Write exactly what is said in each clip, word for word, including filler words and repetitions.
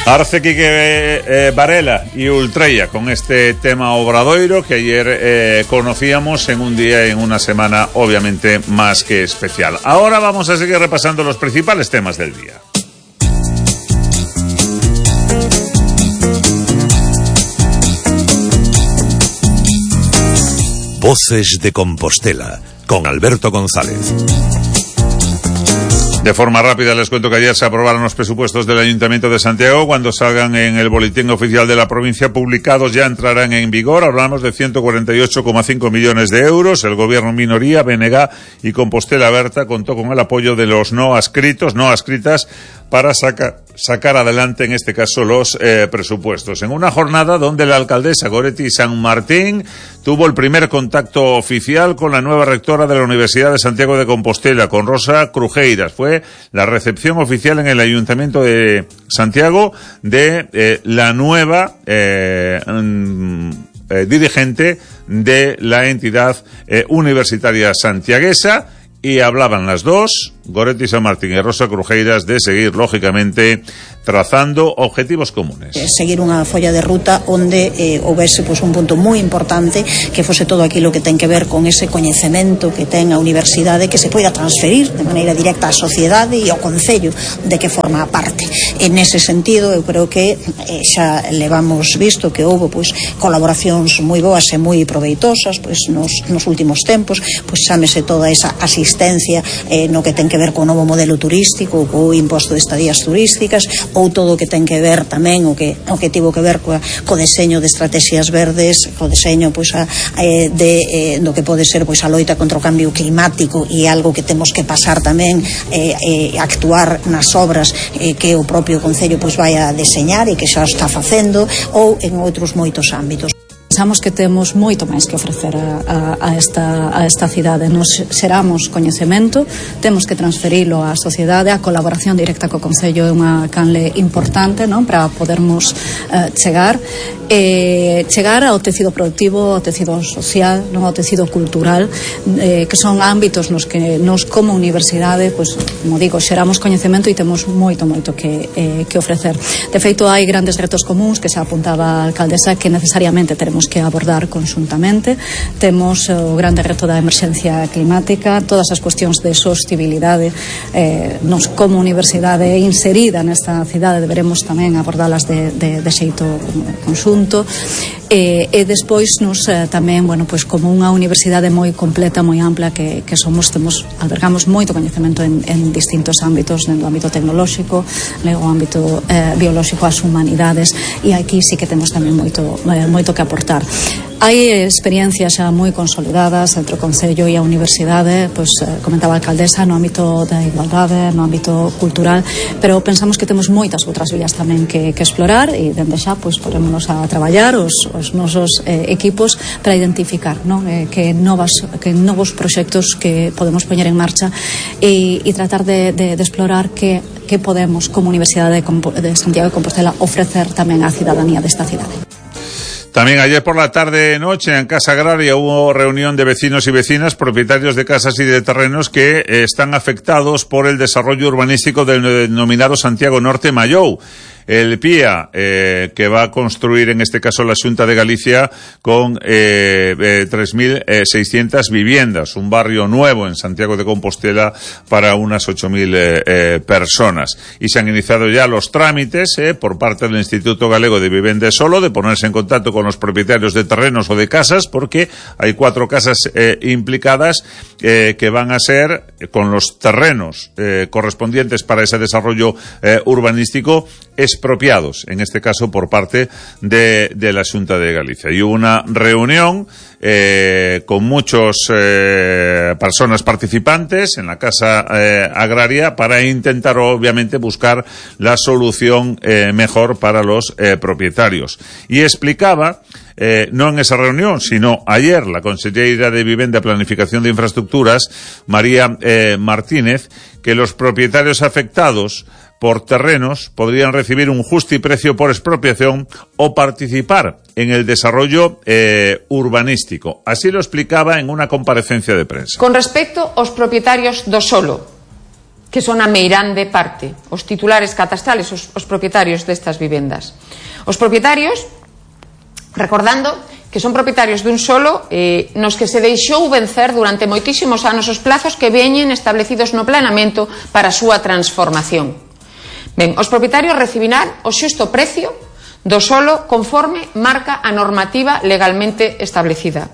Arce Quique eh, Varela y Ultreya con este tema Obradoiro que ayer eh, conocíamos en un día y en una semana obviamente más que especial. Ahora vamos a seguir repasando los principales temas del día. Voces de Compostela con Alberto González. De forma rápida les cuento que ayer se aprobaron los presupuestos del Ayuntamiento de Santiago. Cuando salgan en el boletín oficial de la provincia publicados ya entrarán en vigor. Hablamos de ciento cuarenta y ocho coma cinco millones de euros. El gobierno minoría, B N G y Compostela Berta contó con el apoyo de los no adscritos, no adscritas para saca, sacar adelante en este caso los eh, presupuestos. En una jornada donde la alcaldesa Goretti San Martín tuvo el primer contacto oficial con la nueva rectora de la Universidad de Santiago de Compostela, con Rosa Crujeiras. Fue la recepción oficial en el Ayuntamiento de Santiago de eh, la nueva eh, mm, eh, dirigente de la entidad eh, universitaria santiaguesa, y hablaban las dos, Goretti San Martín e Rosa Crujeiras, de seguir, lógicamente, trazando objetivos comunes. Seguir unha folla de ruta onde eh, houvese pues, un punto moi importante que fose todo aquilo que ten que ver con ese coñecemento que ten a universidade, que se poida transferir de maneira directa á sociedade e ao concello de que forma parte. En ese sentido, eu creo que eh, xa levamos visto que houve pues, colaboracións moi boas e moi proveitosas pues, nos, nos últimos tempos, pues, chámese toda esa asistencia eh, no que ten que ver co novo modelo turístico, co imposto de estadías turísticas, ou todo o que ten que ver tamén o que o que tivo que ver coa, co deseño de estrategias verdes, co deseño pois a, eh, de eh, do que pode ser pois a loita contra o cambio climático, e algo que temos que pasar tamén eh, eh, actuar nas obras eh, que o propio concello pois vai a deseñar e que xa está facendo, ou en outros moitos ámbitos. Pensamos que temos moito máis que ofrecer a, a, a, esta, a esta cidade. Nos xeramos coñecemento, temos que transferilo á sociedade. A colaboración directa co Concello é unha canle importante, non, para podermos eh, chegar eh, chegar ao tecido productivo, ao tecido social, non, ao tecido cultural, eh, que son ámbitos nos que nos como universidade, pois, como digo, xeramos coñecemento e temos moito, moito que, eh, que ofrecer. De feito, hai grandes retos comuns que xa apuntaba a alcaldesa que necesariamente teremos que abordar conxuntamente. Temos o grande reto da emerxencia climática, todas as cuestións de sostibilidade eh, nos como universidade inserida nesta cidade deberemos tamén abordalas de, de, de xeito conxunto. E, e despois nos eh, tamén, bueno, pois como unha universidade moi completa, moi ampla que, que somos, temos, albergamos moito coñecemento en, en distintos ámbitos, no ámbito tecnolóxico, no ámbito eh, biolóxico, as humanidades, e aquí sí que temos tamén moito, eh, moito que aportar. Hai experiencias xa moi consolidadas entre o Concello e a Universidade, pois comentaba a alcaldesa, no ámbito da igualdade, no ámbito cultural, pero pensamos que temos moitas outras vías tamén que, que explorar, e dende xa pois porémonos a traballar os, os nosos eh, equipos para identificar, non, eh, que novas que novos proxectos que podemos poñer en marcha e, e tratar de, de, de explorar que, que podemos como Universidade de, de Santiago de Compostela ofrecer tamén á cidadanía desta cidade. También ayer por la tarde-noche en Casa Agraria hubo reunión de vecinos y vecinas, propietarios de casas y de terrenos que eh, están afectados por el desarrollo urbanístico del denominado Santiago Norte Mallou. El P I A, eh, que va a construir en este caso la Xunta de Galicia con eh, eh, tres mil seiscientas viviendas, un barrio nuevo en Santiago de Compostela para unas ocho mil eh, eh, personas. Y se han iniciado ya los trámites eh, por parte del Instituto Galego de Vivenda e Solo de ponerse en contacto con los propietarios de terrenos o de casas, porque hay cuatro casas eh, implicadas eh, que van a ser eh, con los terrenos eh, correspondientes para ese desarrollo eh, urbanístico expropiados, en este caso por parte de, de la Xunta de Galicia. Y hubo una reunión eh, con muchas eh, personas participantes en la Casa eh, Agraria para intentar, obviamente, buscar la solución eh, mejor para los eh, propietarios. Y explicaba, eh, no en esa reunión, sino ayer, la consellera de Vivenda, Planificación de Infraestructuras, María eh, Martínez, que los propietarios afectados por terrenos podrían recibir un justiprecio por expropiación o participar en el desarrollo eh, urbanístico. Así lo explicaba en una comparecencia de prensa. Con respecto aos propietarios do solo, que son a meirande parte, os titulares catastrales, os, os propietarios destas vivendas. Os propietarios, recordando que son propietarios dun solo eh, nos que se deixou vencer durante moitísimos anos os plazos que veñen establecidos no planeamento para a súa transformación. Ben, os propietarios recibirán o xusto precio do solo conforme marca a normativa legalmente establecida.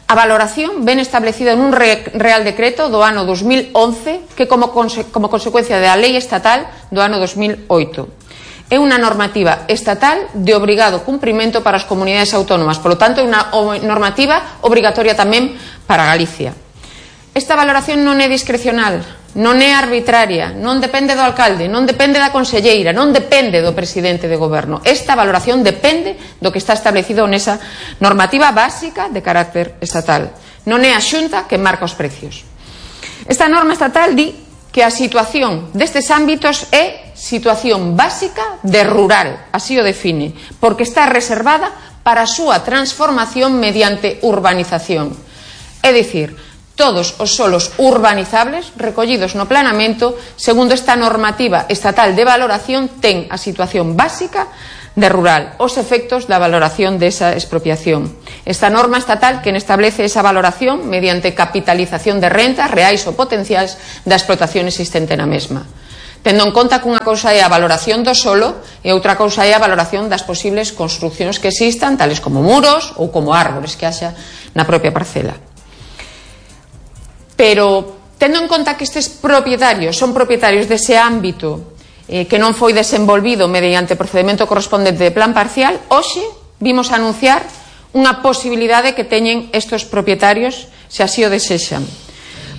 A valoración ven establecida nun Real Decreto do ano dos mil once que como, conse como consecuencia da Lei Estatal do ano dos mil oito. É unha normativa estatal de obrigado cumprimento para as comunidades autónomas, polo tanto é unha normativa obrigatoria tamén para Galicia. Esta valoración non é discrecional, non é arbitraria, non depende do alcalde, non depende da conselleira, non depende do presidente de goberno. Esta valoración depende do que está establecido nesa normativa básica de carácter estatal. Non é a Xunta que marca os precios. Esta norma estatal di que a situación destes ámbitos é situación básica de rural, así o define, porque está reservada para a súa transformación mediante urbanización. É dicir, todos os solos urbanizables recollidos no planeamento, segundo esta normativa estatal de valoración, ten a situación básica de rural, os efectos da valoración desa expropiación. Esta norma estatal que establece esa valoración mediante capitalización de rentas reais ou potenciais da explotación existente na mesma. Tendo en conta que unha cousa é a valoración do solo e outra cousa é a valoración das posibles construccións que existan, tales como muros ou como árbores que haxa na propia parcela. Pero, tendo en conta que estes propietarios son propietarios dese ámbito eh, que non foi desenvolvido mediante procedimento correspondente de plan parcial, hoxe vimos anunciar unha posibilidade que teñen estes propietarios se así o desexan,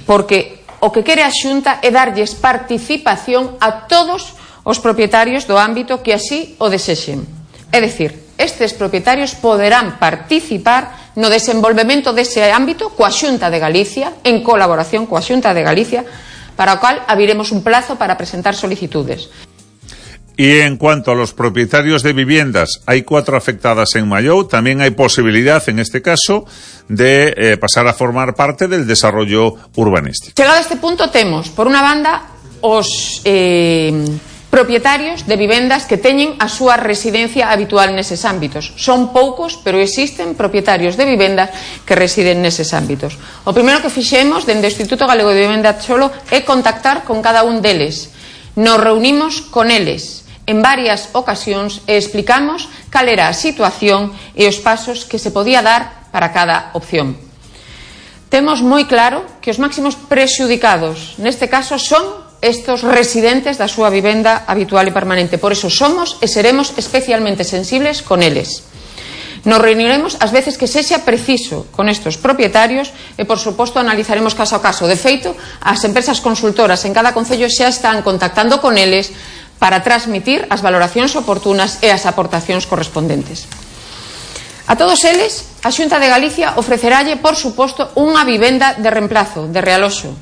porque o que quere a Xunta é darlles participación a todos os propietarios do ámbito que así o desexen. É dicir, estes propietarios poderán participar no desenvolvemento dese ámbito coa Xunta de Galicia, en colaboración coa Xunta de Galicia, para o cual abriremos un plazo para presentar solicitudes. Y en cuanto a los propietarios de viviendas, hay cuatro afectadas en Mallou, también hay posibilidad, en este caso, de eh, pasar a formar parte del desarrollo urbanístico. Chegado a este punto temos, por unha banda, os eh, propietarios de vivendas que teñen a súa residencia habitual neses ámbitos. Son poucos, pero existen propietarios de vivendas que residen neses ámbitos. O primeiro que fixemos dende o Instituto Galego de Vivenda Solo é contactar con cada un deles. Nos reunimos con eles en varias ocasións e explicamos cal era a situación e os pasos que se podía dar para cada opción. Temos moi claro que os máximos prexudicados neste caso son estos residentes da súa vivenda habitual e permanente. Por eso somos e seremos especialmente sensibles con eles. Nos reuniremos as veces que sexa preciso con estes propietarios e, por suposto, analizaremos caso a caso. De feito, as empresas consultoras en cada concello xa están contactando con eles para transmitir as valoracións oportunas e as aportacións correspondentes. A todos eles, a Xunta de Galicia ofrecerálle, por suposto, unha vivenda de reemplazo, de realoxo,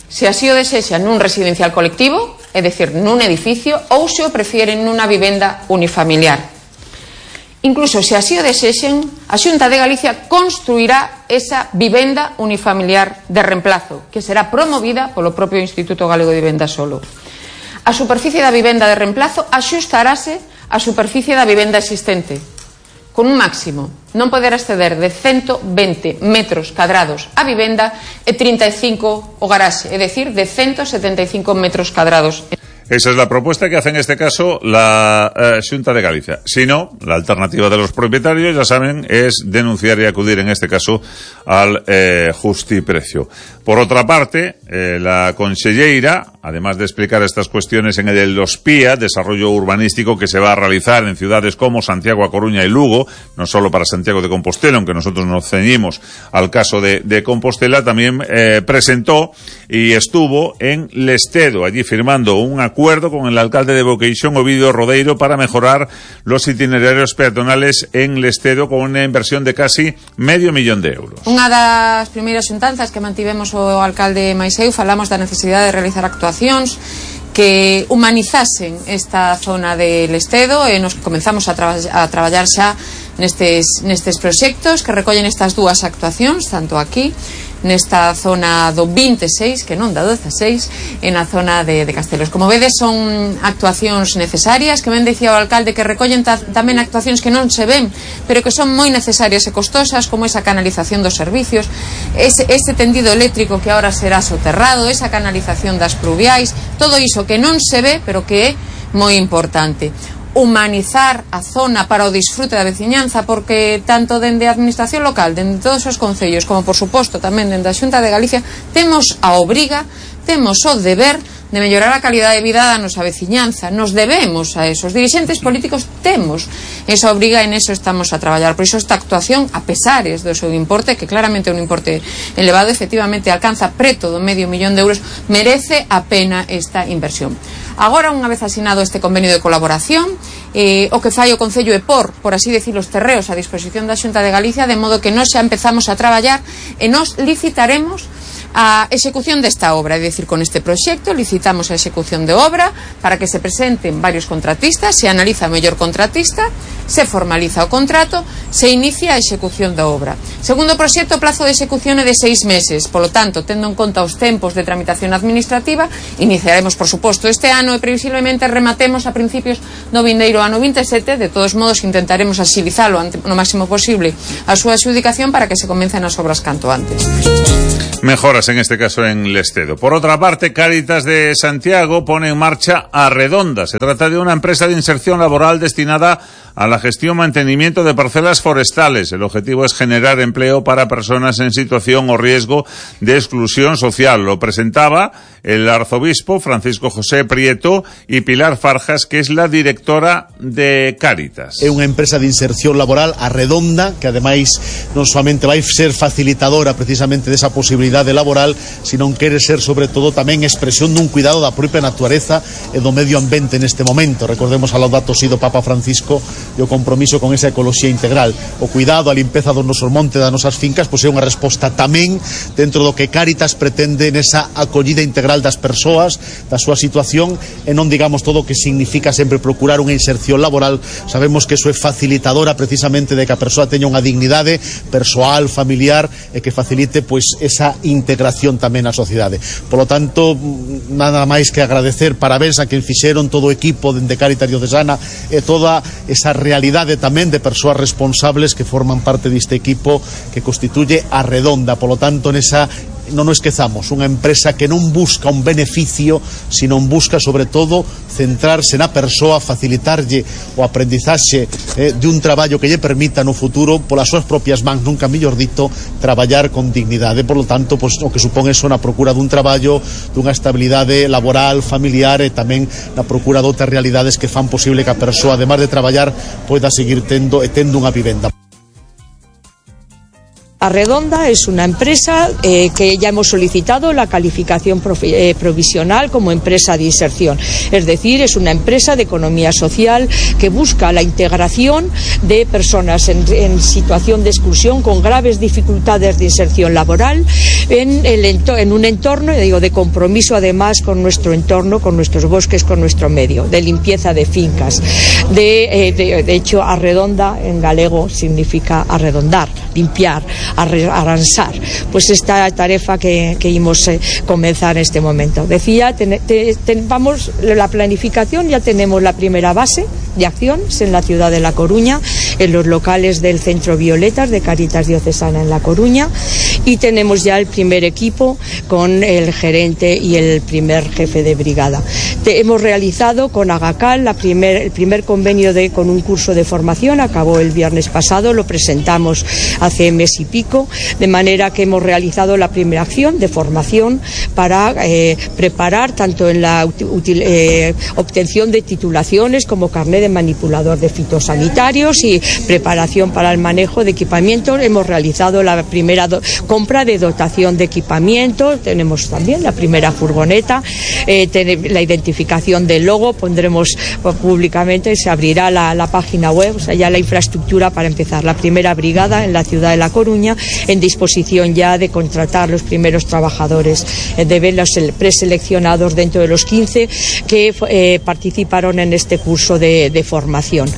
se así o desexa nun residencial colectivo, é dicir, nun edificio, ou se o prefieren nunha vivenda unifamiliar. Incluso se así o desexen, a Xunta de Galicia construirá esa vivenda unifamiliar de reemplazo, que será promovida polo propio Instituto Galego de Vivenda Solo. A superficie da vivenda de reemplazo axustarase á superficie da vivenda existente, con un máximo non poder exceder de ciento veinte metros cadrados a vivenda e trinta e cinco o garaxe, é dicir, de ciento setenta y cinco metros cadrados. Esa es la propuesta que hace en este caso la eh, Xunta de Galicia. Si no, la alternativa de los propietarios, ya saben, es denunciar y acudir en este caso al eh, justiprecio. Por otra parte, eh, la conselleira, además de explicar estas cuestiones en el OSPIA, desarrollo urbanístico que se va a realizar en ciudades como Santiago, A Coruña y Lugo, no solo para Santiago de Compostela, aunque nosotros nos ceñimos al caso de, de Compostela, también eh, presentó y estuvo en Lestedo, allí firmando un acuerdo con el alcalde de Boqueixón, Ovidio Rodeiro, para mejorar los itinerarios peatonales en Lestedo con una inversión de casi medio millón de euros. Unha das primeiras xuntanzas que mantivemos o alcalde Maiseu, falamos da necesidade de realizar actuacións que humanizasen esta zona de Lestedo e nos comenzamos a, traba a traballar xa nestes, nestes proxectos que recollen estas dúas actuacións, tanto aquí nesta zona do veintiséis, que non da dieciséis, en a zona de, de Castelos. Como vedes, son actuacións necesarias, que ben dicía o alcalde, que recollen ta, tamén actuacións que non se ven, pero que son moi necesarias e costosas, como esa canalización dos servicios, ese, ese tendido eléctrico que ahora será soterrado, esa canalización das pluviais, todo iso que non se ve, pero que é moi importante. Humanizar a zona para o disfrute da veciñanza, porque tanto dende a administración local, dende todos os concellos, como por suposto tamén dende a Xunta de Galicia, temos a obriga, temos o deber de mellorar a calidade de vida da nosa veciñanza. Nos debemos a eso. Os dirixentes políticos temos esa obriga e neso estamos a traballar. Por iso esta actuación, a pesares do seu importe, que claramente é un importe elevado, efectivamente alcanza preto do medio millón de euros, merece a pena esta inversión. Agora, unha vez asinado este convenio de colaboración, eh, o que fai o Concello é por, por así decir, os terreos a disposición da Xunta de Galicia, de modo que nós xa empezamos a traballar e nos licitaremos a execución desta obra, é dicir, con este proxecto licitamos a execución de obra para que se presenten varios contratistas, se analiza o mellor contratista, se formaliza o contrato, se inicia a execución da obra. Segundo o proxecto, o plazo de execución é de seis meses, polo tanto, tendo en conta os tempos de tramitación administrativa, iniciaremos, por suposto, este ano e previsiblemente rematemos a principios do vindeiro ano veintisiete. De todos modos, intentaremos axilizalo no máximo posible a súa adxudicación para que se comecen as obras canto antes. Mejoras en este caso en Lestedo. Por otra parte, Cáritas de Santiago pone en marcha Arredonda. Se trata de una empresa de inserción laboral destinada a la gestión y mantenimiento de parcelas forestales. El objetivo es generar empleo para personas en situación o riesgo de exclusión social. Lo presentaba el arzobispo Francisco José Prieto y Pilar Farjas, que es la directora de Cáritas. É unha empresa de inserción laboral Arredonda, que ademais non solamente vai ser facilitadora precisamente desa posibilidade laboral, sino quere ser sobre todo tamén expresión dun cuidado da propia natureza e do medio ambiente neste momento. Recordemos a Laudato Si do Papa Francisco e o compromiso con esa ecoloxía integral. O cuidado, a limpeza dos nosos montes, das nosas fincas, pois é unha resposta tamén dentro do que Cáritas pretende nesa acollida integral das persoas, da súa situación, e non digamos todo o que significa sempre procurar unha inserción laboral. Sabemos que eso é facilitadora precisamente de que a persoa teña unha dignidade persoal, familiar, e que facilite pois esa integración tamén na sociedade. Por lo tanto, nada máis que agradecer, parabéns a quen fixeron todo o equipo dende Cáritas Diocesana e toda esa realidade tamén de persoas responsables que forman parte deste equipo que constituye Arredonda. Por lo tanto, nesa non nos esquezamos, unha empresa que non busca un beneficio, sino busca sobre todo centrarse na persoa, facilitarlle o aprendizaxe eh, de un traballo que lle permita no futuro, polas súas propias mans, nunca mellor dito, traballar con dignidade. Por lo tanto, pues, o que supón eso na procura dun traballo, dunha estabilidade laboral, familiar, e tamén na procura de outras realidades que fan posible que a persoa, además de traballar, poida seguir tendo e tendo unha vivenda. Arredonda es una empresa eh, que ya hemos solicitado la calificación profi, eh, provisional como empresa de inserción. Es decir, es una empresa de economía social que busca la integración de personas en, en situación de exclusión con graves dificultades de inserción laboral en, el, en un entorno, digo, de compromiso además con nuestro entorno, con nuestros bosques, con nuestro medio, de limpieza de fincas. De, eh, de, de hecho, Arredonda en galego significa arredondar, limpiar, aransar, pues esta tarefa que, que íbamos a comenzar en este momento. Decía, ten, te, ten, vamos, la planificación, ya tenemos la primera base de acciones en la ciudad de La Coruña, en los locales del Centro Violetas de Cáritas Diocesana en La Coruña, y tenemos ya el primer equipo con el gerente y el primer jefe de brigada. Te, hemos realizado con Agacal la primer, el primer convenio de, con un curso de formación, acabó el viernes pasado, lo presentamos hace mes y pico, de manera que hemos realizado la primera acción de formación para eh, preparar tanto en la util, eh, obtención de titulaciones como carnet de manipulador de fitosanitarios y preparación para el manejo de equipamiento. Hemos realizado la primera do, compra de dotación de equipamiento, tenemos también la primera furgoneta, eh, ten, la identificación del logo, pondremos públicamente, se abrirá la, la página web, o sea, ya la infraestructura para empezar. La primera brigada en la ciudad de La Coruña en disposición ya de contratar los primeros trabajadores, eh, de ver los preseleccionados dentro de los quince que eh, participaron en este curso de, de formación.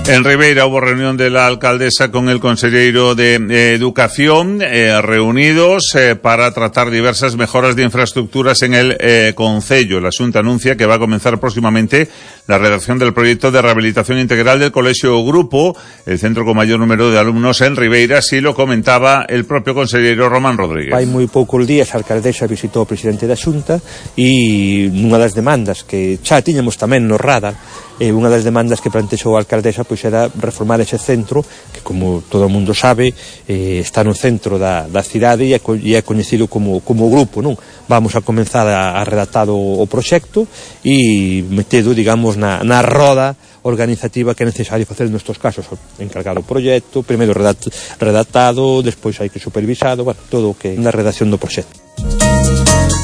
En Ribeira hubo reunión de la alcaldesa con el conselleiro de eh, Educación, eh, reunidos eh, para tratar diversas mejoras de infraestructuras en el eh, concello. La Xunta anuncia que va a comenzar próximamente la redacción del proyecto de rehabilitación integral del Colegio Grupo, el centro con mayor número de alumnos en Ribeira, así lo comentaba el propio conselleiro Román Rodríguez. Hai moi poucos días a alcaldesa visitou o presidente da Xunta e nunha das demandas que xa tiñamos tamén no radar, e unha das demandas que plantexou a alcaldesa pois era reformar ese centro que, como todo o mundo sabe, eh, está no centro da, da cidade e é, e é coñecido como, como grupo, non? Vamos a comenzar a, a redactar o, o proxecto e metedo, digamos, na, na roda organizativa que é necesario facer nestes casos, encargar o proxecto, primeiro redact, redactado, despois hai que supervisado, bueno, todo o que na redacción do proxecto.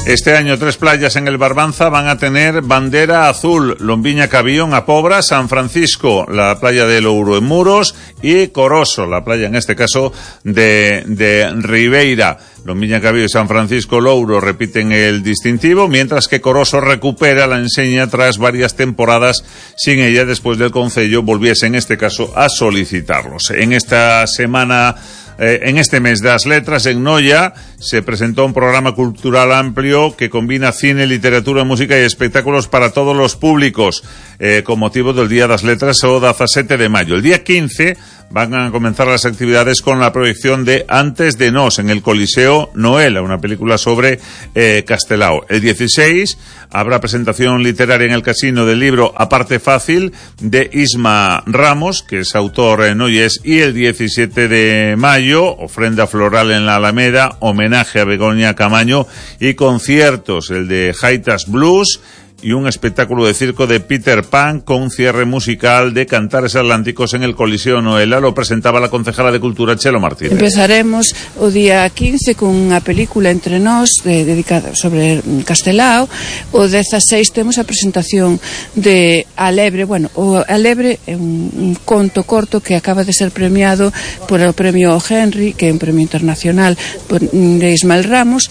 Este año tres playas en el Barbanza van a tener bandera azul: Lombiña Cabión, A Pobra, San Francisco, la playa de Louro en Muros, y Coroso, la playa en este caso de, de Ribeira. Lombiña Cabión y San Francisco Louro repiten el distintivo, mientras que Coroso recupera la enseña tras varias temporadas sin ella, después del concello volviese en este caso a solicitarlos. En esta semana Eh, en este mes de las letras, en Noia, se presentó un programa cultural amplio que combina cine, literatura, música y espectáculos para todos los públicos, eh, con motivo del Día das Letras o diecisiete de mayo. El día quince van a comenzar las actividades con la proyección de Antes de Nos en el Coliseo Noela, una película sobre eh, Castelao. El dieciséis habrá presentación literaria en el Casino del libro Aparte Fácil de Isma Ramos, que es autor en Noyes, y el diecisiete de mayo, ofrenda floral en la Alameda, homenaje a Begoña Camaño y conciertos, el de Jaitas Blues y un espectáculo de circo de Peter Pan con cierre musical de Cantares Atlánticos en el Coliseo Noela. Lo presentaba la concejala de Cultura, Chelo Martínez. Empezaremos o día quince con unha película entre nós de, dedicada sobre Castelao. O dieciséis temos a presentación de A Lebre. Bueno, o A Lebre é un, un conto corto que acaba de ser premiado por o premio Henry, que é un premio internacional por, de Ismael Ramos.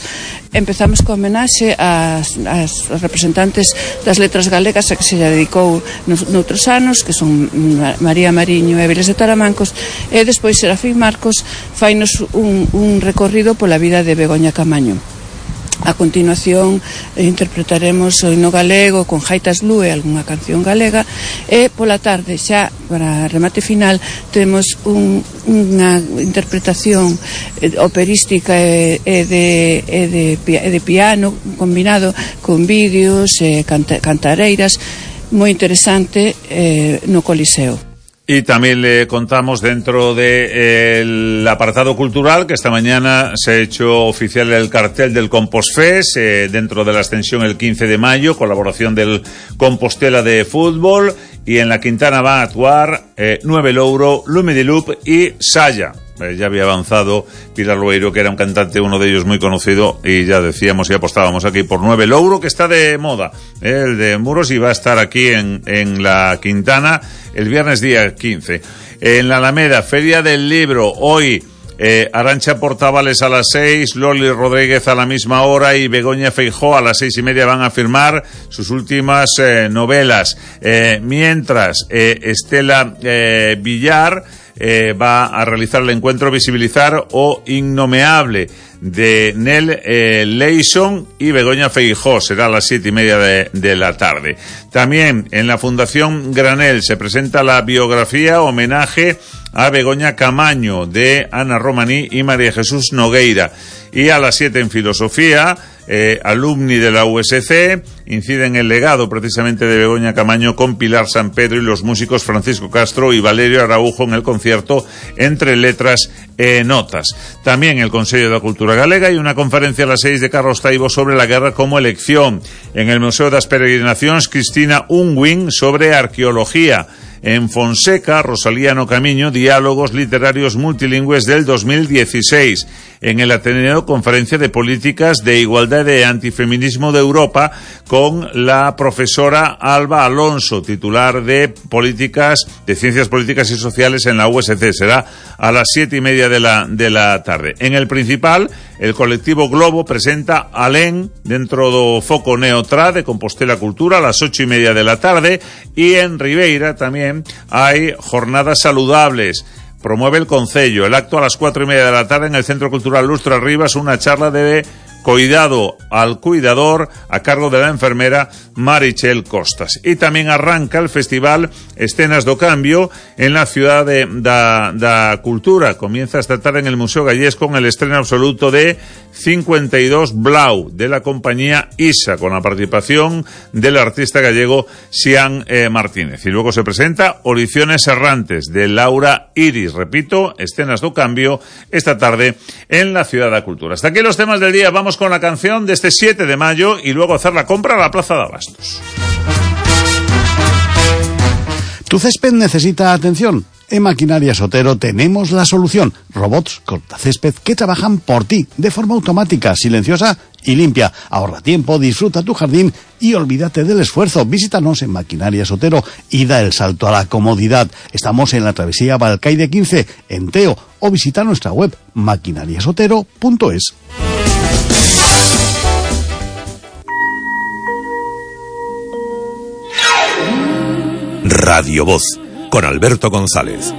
Empezamos con homenaxe ás, ás representantes das letras galegas a que se lle dedicou nos, noutros anos, que son María Mariño e Viles de Taramancos, e despois Serafín Marcos fainos un, un recorrido pola vida de Begoña Camaño. A continuación eh, interpretaremos o himno galego con Jaitas Blue e algunha canción galega, e pola tarde, xa para remate final, temos un, unha interpretación eh, operística e, e, de, e, de, e de piano combinado con vídeos e eh, canta, cantareiras moi interesante eh, no Coliseo. Y también le contamos dentro del de, eh, apartado cultural que esta mañana se ha hecho oficial el cartel del Compostfest, eh, dentro de la extensión el quince de mayo, colaboración del Compostela de fútbol, y en la Quintana van a actuar eh, Nueve Louro, Lume de Loop y Saya. Eh, ya había avanzado Pilar Loeiro, que era un cantante, uno de ellos muy conocido, y ya decíamos y apostábamos aquí por Nueve Louro, que está de moda, eh, el de Muros, y va a estar aquí en, en la Quintana el viernes día quince. En la Alameda, Feria del Libro, hoy eh, Arantxa Portavales a las seis, Loli Rodríguez a la misma hora y Begoña Feijó a las seis y media van a firmar sus últimas eh, novelas. Eh, mientras, eh, Estela eh, Villar eh, va a realizar el encuentro Visibilizar o Innomeable de Nel eh, Leison y Begoña Feijó. Será a las siete y media de, de la tarde. También en la Fundación Granel se presenta la biografía homenaje a Begoña Camaño de Ana Romaní y María Jesús Nogueira. Y a las siete en Filosofía, eh, alumni de la U S C inciden el legado precisamente de Begoña Camaño con Pilar San Pedro y los músicos Francisco Castro y Valerio Araujo en el concierto Entre Letras e Notas. También el Consejo de la Cultura Galega y una conferencia a las seis de Carlos Taibo sobre la guerra como elección. En el Museo das Peregrinacións, Cristina Unwin sobre arqueología. En Fonseca, Rosalía No Camiño, diálogos literarios multilingües del dos mil dieciséis. En el Ateneo, conferencia de políticas de igualdad y antifeminismo de Europa con la profesora Alba Alonso, titular de políticas, de ciencias políticas y sociales en la U S C. Será a las siete y media de la, de la tarde. En el Principal, el colectivo Globo presenta Alén dentro do foco Neotrá de Compostela Cultura a las ocho y media de la tarde, y en Ribeira también hay jornadas saludables. Promueve el Concello. El acto a las cuatro y media de la tarde en el Centro Cultural Lustra Rivas, una charla de cuidado al cuidador a cargo de la enfermera Marichel Costas. Y también arranca el festival Escenas do Cambio en la ciudad de, da, da Cultura. Comienza esta tarde en el Museo Gallés con el estreno absoluto de cincuenta y dos Blau de la compañía ISA, con la participación del artista gallego Xian eh, Martínez. Y luego se presenta Oriciones Errantes de Laura Iris. Repito, Escenas do Cambio esta tarde en la ciudad de Cultura. Hasta aquí los temas del día. Vamos con la canción de este siete de mayo y luego hacer la compra a la Plaza de Abastos. ¿Tu césped necesita atención? En Maquinarias Otero tenemos la solución. Robots cortacésped que trabajan por ti de forma automática, silenciosa y limpia. Ahorra tiempo, disfruta tu jardín y olvídate del esfuerzo. Visítanos en Maquinarias Otero y da el salto a la comodidad. Estamos en la travesía Balcaide quince, en Teo, o visita nuestra web maquinariasotero punto es. Radio Voz, con Alberto González.